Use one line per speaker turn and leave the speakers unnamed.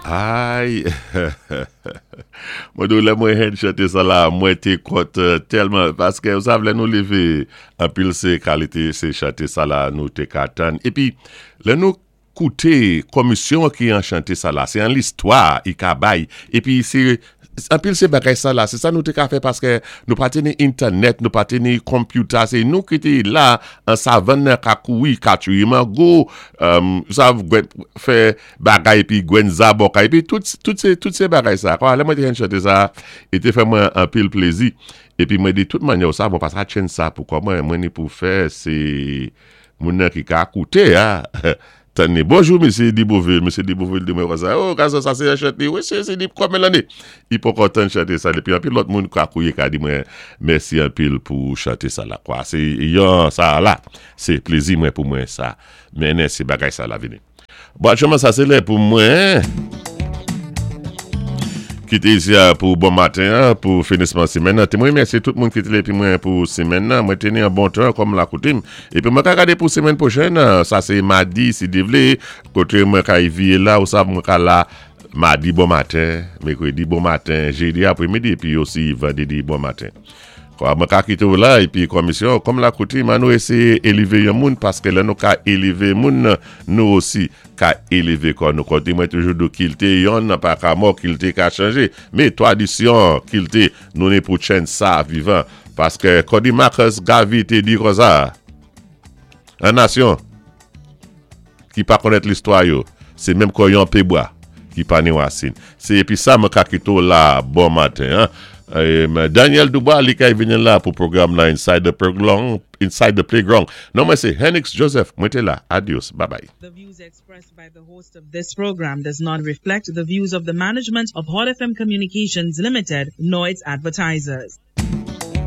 Ay, mwen di lè mwen henn chanté sa la, mwen té kontan tèlman, paské ou sav lè nou lévé, anpil sé kalité sé chanté sa la nou té ka tann. Épi, lè nou kouté komisyon ki an chanté sa la, sé an listwa i ka bay, épi sé anpil sé bagay sa la, sé sa nou té ka fè paské nou pa té ni entènèt, nou pa té ni computer, sé nou ki té la an savann nan ka kouri, ka tuye mango, sav fè bagay épi gwenn zaboka, épi tout sé bagay sa. Kwa, lè mwen té henn chanté sa, i té fè mwen anpil plézi. Épi mwen di tout mannyè ou sa, mwen pa sa tchenn sa pou kò mwen, mwen ni pou fè sé moun nan ki ka kouté a. Tanné, bonjou Mesye Dibouville, Mesye Dibouville di mwen konsa, oh gason sa sé yon chante, wi sé di konbyen lanné? I poko tann chanté sa, épi anpil lòt moun ka kouye ka di mwen mèsi anpil pou chanté sa la kwa. Sé yon sa la, sé plézi mwen pou mwen sa mennen sé bagay sa la vini. Bon, aktyèlman sa sé lè pou mwen kité isi a pou bon maten an, pou finisman simèn nan. Té mwen mèsi tout moun ki té épi mwen pou simèn nan. Mwen té ni an bon tan kòm la koutim. Épi mwen ka gadé pou simèn pwochèn, sa sé madi si Dye vlé, koté mwen ka vié la ou sa mwen ka la madi bon maten, mèkrèdi bon maten, jédi aprèmidi épi osi vandrédi bon maten. Kwa mwen ka kité ou la épi komisyon kòm la koutim an nou éséyé élévé yon moun paské lè nou ka élévé moun nou osi ka élévé kò nou. Koté mwen toujou di kilti yonn pa ka mò, kilti ka chanjé, mé twadisyon kilti nou ni pou tchenn sa vivan paské kòdi Marcus Garvey té di konsa an nasyon ki pa konnèt listwa yo, sé menm kon yon pé bwa ki pa ni wasin. Sé épi sa mwen ka kité ou la bon maten an. Daniel Dubois li kay vini la pou pwogram la Inside the Playground, Inside the Playground. Non mwen sé Henix Joseph, mwen té la. Adios, bye bye.
The views expressed by the host of this program does not reflect the views of the management of Hot FM Communications Limited nor its advertisers.